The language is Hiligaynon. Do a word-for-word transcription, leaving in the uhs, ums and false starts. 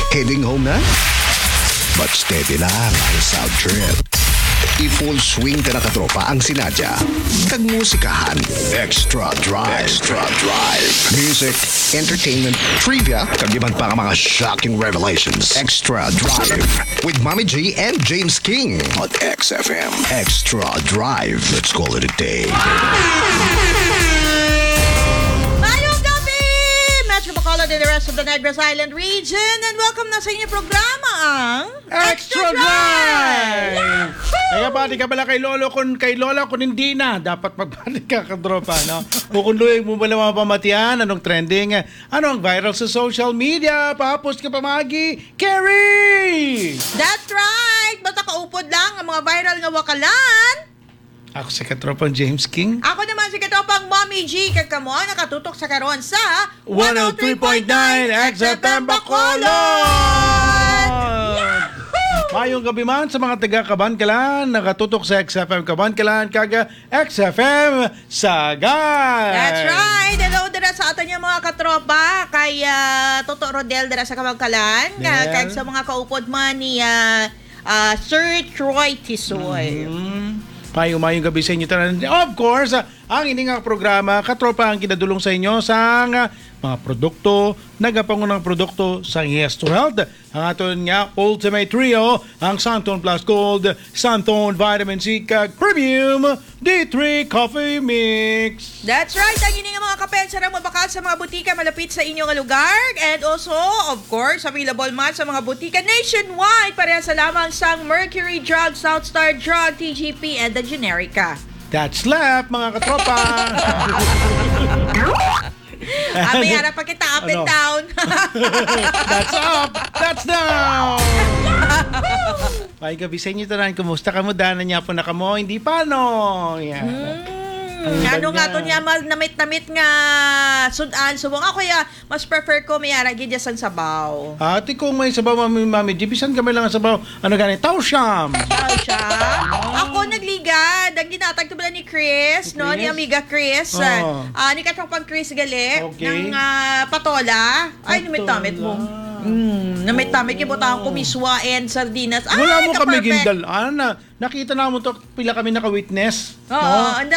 Heading home na? But steady lang ang sound trip. I-full swing ta na, katropa, ang sinadya kag musikahan. Extra Drive. Extra Drive. Music, entertainment, trivia, kag iban pa nga mga shocking revelations. Extra Drive with Mommy G and James King on X F M. Extra Drive. Let's call it a day. Mayong gabi, Metro Bacolod and the rest of the Negros Island region, and welcome na sa inyong programa, ang Extra Drive! Kaya pati ka pala kay Lolo kung kay Lola kung hindi na. Dapat magpati ka, katropa, no? O kung luoy mo pala mga pamatian, anong trending? Ano ang viral sa social media? Pahapos ka pamagi, Kerry! That's right! Basta kaupod lang ang mga viral nga wakalan. Ako si katropang James King. Ako naman si katropang Mommy G. Kag kamo ang nakatutok sa karon sa one oh three point nine X F M Bacolod! Mayong gabi man sa mga taga Kabankalan, nakatutok sa X F M Kabankalan kag X F M Sagay. That's right. Hello dira sa aton nga mga katropa kay ah, Toto Rodel dira sa Kabankalan, ka- Del. Kag sa mga kaupod man ni ah, ah, Sir Troy Tisoy. Mm. Mayong mayong gabi sa inyo tanan. Of course, ah, ang ini nga programa, katropa, ang kinadulong sa inyo sang ah, mga produkto, nagapangunang produkto sa Yes to Health. Ang aton nga Ultimate Trio, ang Santon Plus Gold, Santon Vitamin C, kag Premium D three Coffee Mix. That's right. Ang ini nga mga kape, sarang mabakal sa mga butika malapit sa inyo nga lugar. And also, of course, available man sa mga butika nationwide. Parehas sa lamang sang Mercury Drug, South Star Drug, T G P, and the Generica. That's left, mga katropa. Ah, may ara pa kita up and Ano? down. That's up. That's down. May gabi sa inyo tanan. Kumusta kamo? Dana niya po na kamo. Hindi pa, no? Yeah. Hmm, ano nga to niya, mal namit-namit nga sudan. Subong ako ya, mas prefer ko may ara gid sang sabaw. Ate, kung may sabaw, mami, mami, di bisan kami lang ang sabaw. Ano gani? Tausiam. Tausiam. Ako nagligad. Ang ginatag to bala ni Chris, no? Ni Chris? Amiga Chris. Oh. Ah, ni Katropang Chris gali. Okay. Ng ah, patola. Ay, namit-namit mo. Mm, namit-namit yung butang ko, miswa and sardinas. Ay, Wala mo kami ka-perfect. Gindal. Ah, na, nakita na mo to, pila kami naka-witness. Oo, no? ang